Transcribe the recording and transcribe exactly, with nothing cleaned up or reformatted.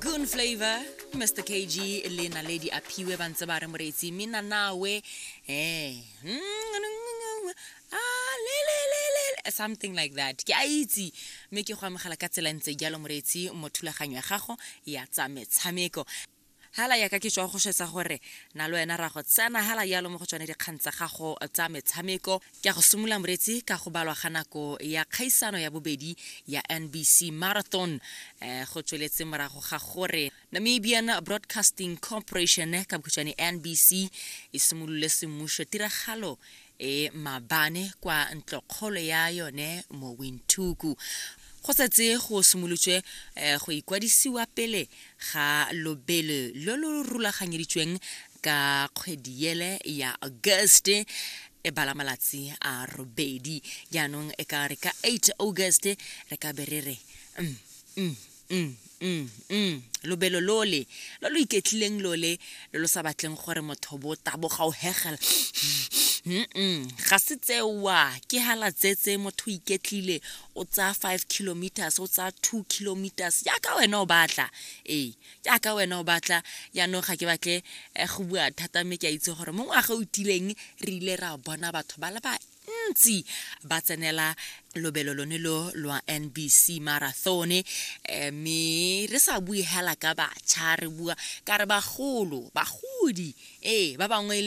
Goon Flavor, Mister K G le Naledi Aphiwe ba ntse ba re, moreetsi, mina nawe, eh ah, le le le le, something like that. Ke a itse, mme ke go amogela ka tsela ntse jalo, moreetsi, mo thulaganyo ya gago ya tsa metshameko. Hala yaka ke tswa go swetsa gore na le wena ra go tsena hala yalo mo go tsone dikgang tsa gago tsa metshameko. Ke a go simolola, moreetsi, ka go balwa ga nako ya kgaisano ya bobedi ya N B C Marathon. um go tsweletse morago ga gore Namibian Broadcasting Corporation, ka bokhutshwane N B C, e simolole semmušo tiragalo e mabane kwa ntlokgolo ya yone mo Windhoek. Go setse go simolotswe um go ikwadisiwa pele ga lobelo lo lo rulaganyeditsweng ka kgwedi ele ya August e bala malatsi a robedi. Jaanong e ka re ka eight August re ka be re re mm, mm, mm, mm, mm. lobelo lole lo lo iketlileng, lole lo lo sa batleng gore motho bo taboga o hegela. Mm ga se tsewa ke hala tsetse motho o iketlile, o tsaya five kilometers, o tsaya two kilometers jaaka wena o batla. Ee, jaaka wena o batla. Jaanong ga ke batle eh, go bua thata, mme ke a itse gore mo ngwaga o tileng re ile ra bona batho ba le bantsi ba tsenela lobelo lone lo lwa N B C Marathon, eh, mme re sa bue hela ka batjha, re bua ka re bagolo, bagodi, ee, ba bangwe.